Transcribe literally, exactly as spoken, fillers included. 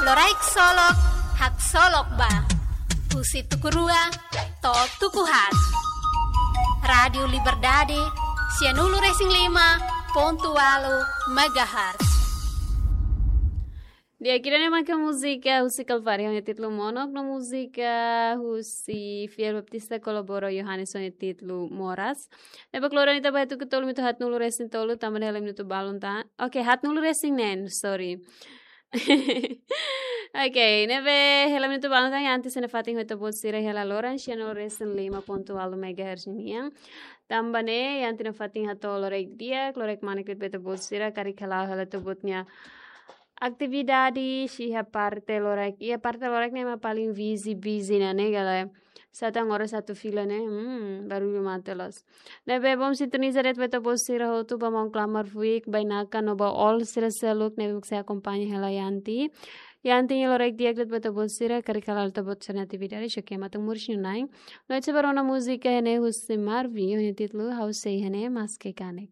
Loraik Solok, haksolok ba. Husi tuku rua to'o tuku haat. Rádiu Liberdade, sianulu-resin-lima pontu ualu megahertz. Di'ak, ida-ne'e maka múzika husi Kalvária, ho nia títulu Monok, no múzika husi Fiel Baptista kolabora Yohanes, ho nia títulu Moras. Ne'ebé klora ne'e ita ba iha tuku tolu minutu haatnulu-resin-tolu, tanba ne'e hela minutu balun tan. Oke, haatnulu-resin-neen, sorry. Oke, ne'ebé hela minutu balun tan, Yanti sei nafatin ho ita-boot sira hela loron, sianulu-resin-lima pontu ualu megahertz nian. Tanba ne'e, Yanti nafatin hato'o loraik di'ak, loraik manek ba ita-boot sira, karik hela, hela ita-boot nia atividade, iha parte loraik. Iha parte loraik ne'e mak paling busy, busy ona ne'e, galera. Sá tan oras atu fila ne'e, hmm, barullu mate loos. Ne'ebé bom sintoniza de'it ba ita-boot sira hotu, ba maun klamar fuik, bainaka no ba all sira seluk ne'ebé mak sei akompaña hela Yanti. Yanti nia loraik di'ak de'it ba ita-boot sira, karik hela ita-boot sira-nia atividade, xoke matan muris nunai. No ita sei ba rona múzika iha ne'e husi Marvin, ho nia títulu Ha'u Sei Iha Ne'e Maske Kanek.